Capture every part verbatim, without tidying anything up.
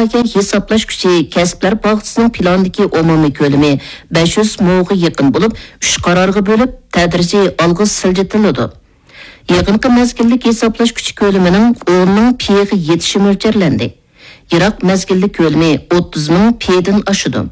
ھېسابلاش كۈچى كەسىپلەر پاختىسىنىڭ پىلاندىكى ئومۇمىي كۆلىمى بەش يۈز موغا يېقىن بولۇپ، ئۈچ قارارغا بۆلۈپ، تەدرىجىي ئالغا سىلجىتىلىدۇ. يېقىنقى مەزگىللىك ھېسابلاش كۈچى كۆلىمىنىڭ ئون مىڭ پىغا يېتىشى مۆلچەرلەندى. يىراق مەزگىللىك كۆلىمى ئوتتۇز مىڭ پىدىن ئاشىدۇ.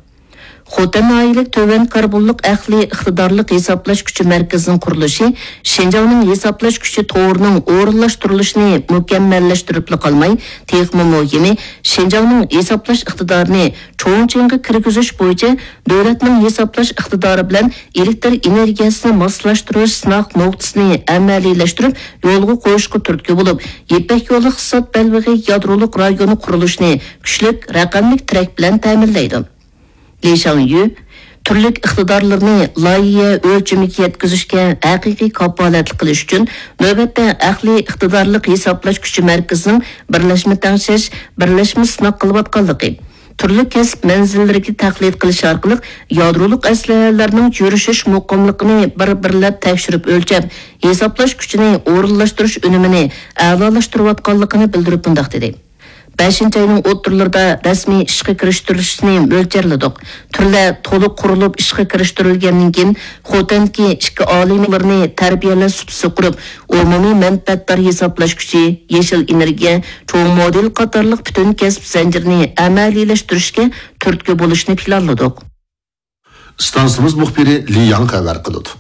خوتەن ناھىيەلىك تۆۋەن كاربونلۇق ئەقلىي ئىقتىدارلىق ھېسابلاش كۈچى مەركىزىنىڭ قۇرۇلۇشى شىنجاڭنىڭ ھېسابلاش كۈچى تورىنىڭ ئورۇنلاشتۇرۇلۇشىنى مۇكەممەللەشتۈرۈپلا قالماي، تېخىمۇ مۇھىمى، شىنجاڭنىڭ ھېسابلاش ئىقتىدارىنى چوڭ چىڭغا كىرگۈزۈش بويىچە دۆلەتنىڭ ھېسابلاش ئىقتىدارى بىلەن ئېلېكتر ئېنېرگىيەسىنى ماسلاشتۇرۇش سىناق نۇقتىسىنى ئەمەلىيلەشتۈرۈپ يولغا قويۇشقا تۈرتكە بولۇپ، يىپەك يولى ئىقتىساد بەلبېغى يادرولۇق رايونى قۇرۇلۇشىنى كۈچلۈك رەقەملىك تىرەك بىلەن تەمىنلەيدۇ. لى شاڭيۈ تۈرلۈك ئىقتىدارلىرىنى لايىھە ئۆلچىمىگە يەتكۈزۈشكە ھەقىقىي كاپالەتلىك قىلىش ئۈچۈن، نۆۋەتتە ئەقلىي ئىقتىدارلىق ھېسابلاش كۈچى مەركىزىنىڭ بىرلەشمە تەڭشەش، بىرلەشمە سىناق قىلىۋاتقانلىقى، تۈرلۈك كەسىپ مەنزىللىرىگە تەقلىد قىلىش ئارقىلىق يادرولۇق ئەسلىھەلەرنىڭ يۈرۈشۈش مۇقىملىقىنى بىر-بىرلەپ تەكشۈرۈپ ئۆلچەپ، ھېسابلاش كۈچىنى ئورۇنلاشتۇرۇش ئۈنۈمىنى ئەلالاشتۇرۇۋاتقانلىقىنى بىلدۈرۈپ مۇنداق دېدى: بەشىنچى ئاينىڭ ئوتتۇرىلىرىدا رەسمىي ئىشقا كىرىشتۈرۈلۈشىنى مۆلچەرلىدۇق. تۈرلەر تولۇق قۇرۇلۇپ ئىشقا كىرىشتۈرۈلگەندىن كېيىن، خوتەندىكى ئىككى ئالىي مۇدىرنى تەربىيەلەش سۇپىسىغا قۇرۇپ، ئومۇمىي مەنپەئەتدار ھېسابلاش كۈچى، يېشىل ئېنېرگىيە، چوڭ مودېل قاتارلىق پۈتۈن كەسىپ زەنجىرىنى ئەمەلىيلەشتۈرۈشكە تۈرتكە بولۇشنى پىلانلىدۇق. ئىستانسىمىز مۇخبىرى لى ياڭ خەۋەر قىلىدۇ.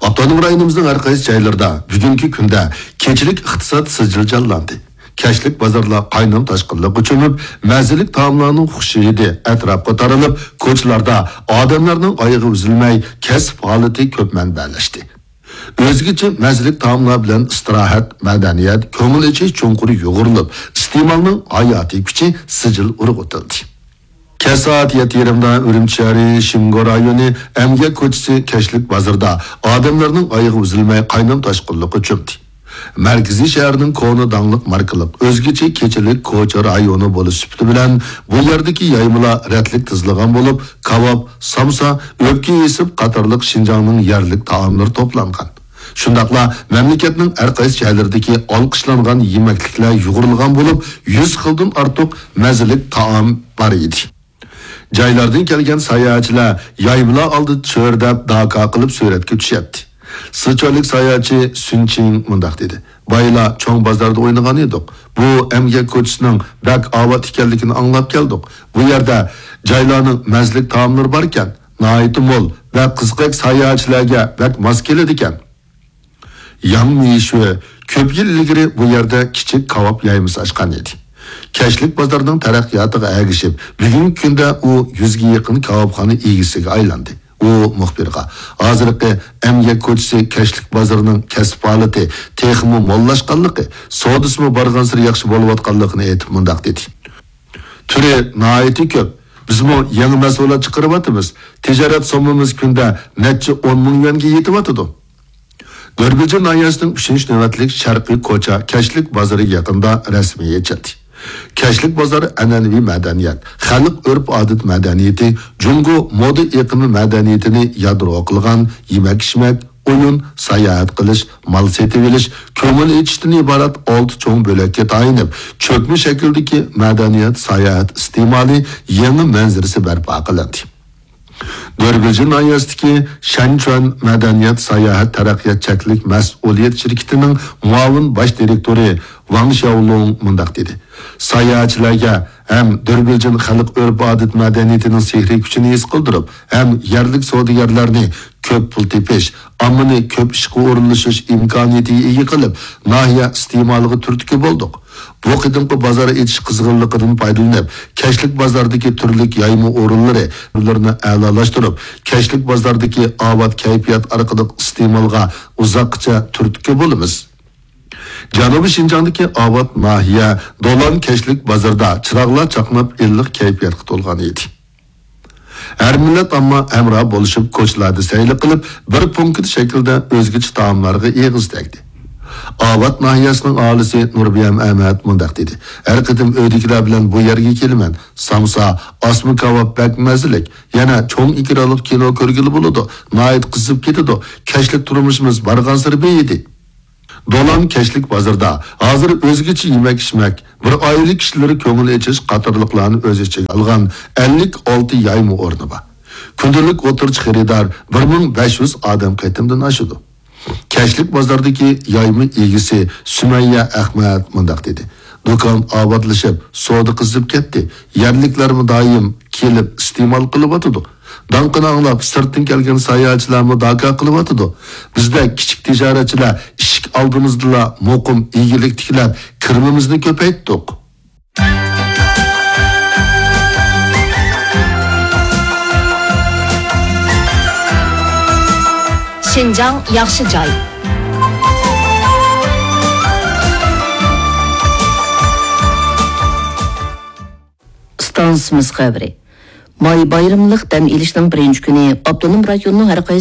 ئاپتونوم رايونىمىزنىڭ ھەر قايسى جايلىرىدا بۈگۈنكى كۈندە كېچىلىك ئىقتىساد سىجىل جانلاندى. كەچلىك بازارلار قاينام تاشقىنلىققا چۆمۈپ، مەززىلىك تائاملارنىڭ خۇش ھىدى ئەتراپقا تارىلىپ، كوچىلاردا ئادەملەرنىڭ ئايىغى ئۈزۈلمەي، كەسىپ ھالىتى كۆپ مەنبەلەشتى. ئۆزگىچە مەززىلىك تائاملار بىلەن ئىستىراھەت، مەدەنىيەت، كۆڭۈل ئېچىش چوڭقۇر يۇغۇرۇلۇپ، ئىستېمالنىڭ ھاياتىي كۈچى سىجىل ئۇرغۇتۇلدى. كەچ سائەت يەتتە يېرىمدا ئۈرۈمچى شەھىرى شىمگو رايونى ئەمگەك كوچىسى كەچلىك بازىرىدا ئادەملەرنىڭ ئايىغى ئۈزۈلمەي قاينام تاشقىنلىققا چۆمدى. مەركىزىي شەھەرنىڭ كونا داڭلىق ماركىلىق ئۆزگىچە كېچىلىك كوچا رايونى بولۇش سۈپىتى بىلەن بۇ يەردىكى يايمىلار رەتلىك تىزىلغان بولۇپ، كاۋاپ، سامسا، ئۆپكە ھېسىپ قاتارلىق شىنجاڭنىڭ يەرلىك تائاملىرى توپلانغان. شۇنداقلا مەملىكەتنىڭ ھەر قايسى شەھەرلىرىدىكى ئالقىشلانغان يېمەكلىكلەر يۇغۇرۇلغان بولۇپ، يۈز خىلدىن ئارتۇق مەززىلىك تائام بار ئىدى. جايلاردىن كەلگەن ساياھەتچىلەر يايمىلار ئالدىدا چۆرىدەپ داكا قىلىپ سۈرەتكە چۈشەتتى. سىچۈەنلىك ساياھەتچى سۈن چىڭ مۇنداق دېدى: بايىلا چوڭ بازاردا ئوينىغان ئىدۇق. بۇ ئەمگەك كوچىسىنىڭ بەك ئاۋات ئىكەنلىكىنى ئاڭلاپ كەلدۇق. بۇ يەردە جايلارنىڭ مەززىلىك تائاملىرى باركەن، ناھايىتى مول ۋە قىزىقارلىق ساياھەتچىلەرگە بەك ماس كېلىدىكەن. ياڭ مىشۈ كۆپ يىل ئىلگىرى بۇ يەردە كىچىك كاۋاپ يايمىسى ئاچقان ئىدى. كەچلىك بازارنىڭ تەرەققىياتىغا ئەگىشىپ، بۈگۈنكى كۈندە ئۇ يۈزگە يېقىن كاۋاپخانا ئىگىسىگە ئايلاندى. ئۇ مۇخبىرغا ھازىرقى ئەمگەك كوچىسى كەچلىك بازىرىنىڭ كەسىپ ھالىتى تېخىمۇ موللاشقانلىقى، سودىسىمۇ بارغانسېرى ياخشى بولۇۋاتقانلىقىنى ئېيتىپ مۇنداق دېدى: تۈرى ناھايىتى كۆپ. بىزمۇ يېڭى مەھسۇلات چىقىرىۋاتىمىز. تىجارەت سوممىمىز كۈندە نەچچە ئون مىڭ يۈەنگە يېتىۋاتىدۇ. دۆربىلجىن ناھىيەسىنىڭ ئۈچىنچى نۆۋەتلىك شەرقىي كوچا كەچلىك بازىرى يېقىندا رەسمىي ئېچىلدى. كەچلىك بازار ئەنئەنىۋى مەدەنىيەت، خەلق ئۆرپ-ئادەت مەدەنىيىتى، جۇڭگو مودا ئېقىمى مەدەنىيىتىنى يادرو قىلغان يېمەك-ئىچمەك، ئويۇن، ساياھەت قىلىش، مال سېتىۋېلىش، كۆڭۈل ئېچىشتىن ئىبارەت ئالتە چوڭ بۆلەككە تايىنىپ، چۆكمە شەكىلدىكى مەدەنىيەت ساياھەت ئىستېمالى يېڭى مەنزىرىسى بەرپا قىلىندى. دۆربىلجىن ناھىيەسىدىكى شەنچۈەن مەدەنىيەت ساياھەت تەرەققىيات چەكلىك مەسئۇلىيەت شىركىتىنىڭ مۇئاۋىن باش دىرېكتورى ۋاڭ شياۋلۇڭ مۇنداق دېدى: ساياھەتچىلەرگە ھەم دۆربىلجىن خەلق ئۆرپ-ئادەت مەدەنىيىتىنىڭ سېھرىي كۈچىنى ھېس قىلدۇرۇپ، ھەم يەرلىك سودىگەرلەرنى كۆپ پۇل تېپىش، ئاممىنى كۆپ ئىشقا ئورۇنلىشىش ئىمكانىيىتىگە ئىگە قىلىپ، ناھىيە ئىستېمالىغا تۈرتكە بولدۇق. بۇ قېتىمقى بازار ئېچىش قىزغىنلىقىدىن پايدىلىنىپ، كەچلىك بازاردىكى تۈرلۈك يايما ئورۇنلىرى، ئورۇنلىرىنى ئەلالاشتۇرۇپ، كەچلىك بازاردىكى ئاۋات كەيپىيات ئارقىلىق ئىستېمالغا ئۇزاققىچە تۈرتكە بولىمىز. جەنۇبىي شىنجاڭدىكى ئاۋات ناھىيە دولان كەچلىك بازىرىدا چىراغلار چاقناپ، ئىللىق كەيپىياتقا تولغان ئىدى. ھەر مىللەت ئامما ھەمراھ بولۇشۇپ، كوچىلاردا سەيلە قىلىپ، بىر پونكىت شەكلىدە ئۆزگىچە تائاملارغا ئېغىز تەگدى. ئاۋات ناھىيەسىنىڭ ئاھالىسى نۇربىيەم ئەمەت مۇنداق دېدى: ھەر قېتىم ئۆيدىكىلەر بىلەن بۇ يەرگە كېلىمەن. سامسا، ئاسما كاۋاپ بەك مەززىلىك. يەنە چوڭ ئېكرانلىق كىنو كۆرگىلى بولىدۇ. ناھايىتى قىزىپ كېتىدۇ. كەچلىك تۇرمۇشىمىز بارغانسېرى بېيىدى. دولان كەچلىك بازىرىدا ھازىر ئۆزگىچە يېمەك-ئىچمەك، بىر ئائىلە كىشىلىرى كۆڭۈل ئېچىش قاتارلىقلارنى ئۆز ئىچىگە ئالغان ئەللىك ئالتە يايما ئورنى بار. كۈندىلىك ئوتتۇرىچە خېرىدار بىر مىڭ بەش يۈز ئادەم قېتىمدىن ئاشىدۇ. كەچلىك بازاردىكى يايما ئىگىسى سۈمەييە ئەخمەت مۇنداق دېدى: دۇكان ئاۋاتلىشىپ، سودا قىزىپ كەتتى. يەرلىكلەرمۇ دائىم كېلىپ ئىستېمال قىلىۋاتىدۇ. داڭقىنى ئاڭلاپ، سىرتتىن كەلگەن ساياھەتچىلەرمۇ داكا قىلىۋاتىدۇ. بىزدەك كىچىك تىجارەتچىلەر ئىشىك ئالدىمىزدىلا مۇقىم ئىگىلىك تىكلەپ، كىرىمىمىزنى كۆپەيتتۇق. شىنجاڭ ياخشى جاي. ئىستانسىمىز خەۋىرى. ماي بايرىملىق دەم ئېلىشنىڭ بىرىنچى كۈنى ئاپتونوم رايوننىڭ ھەر قايسى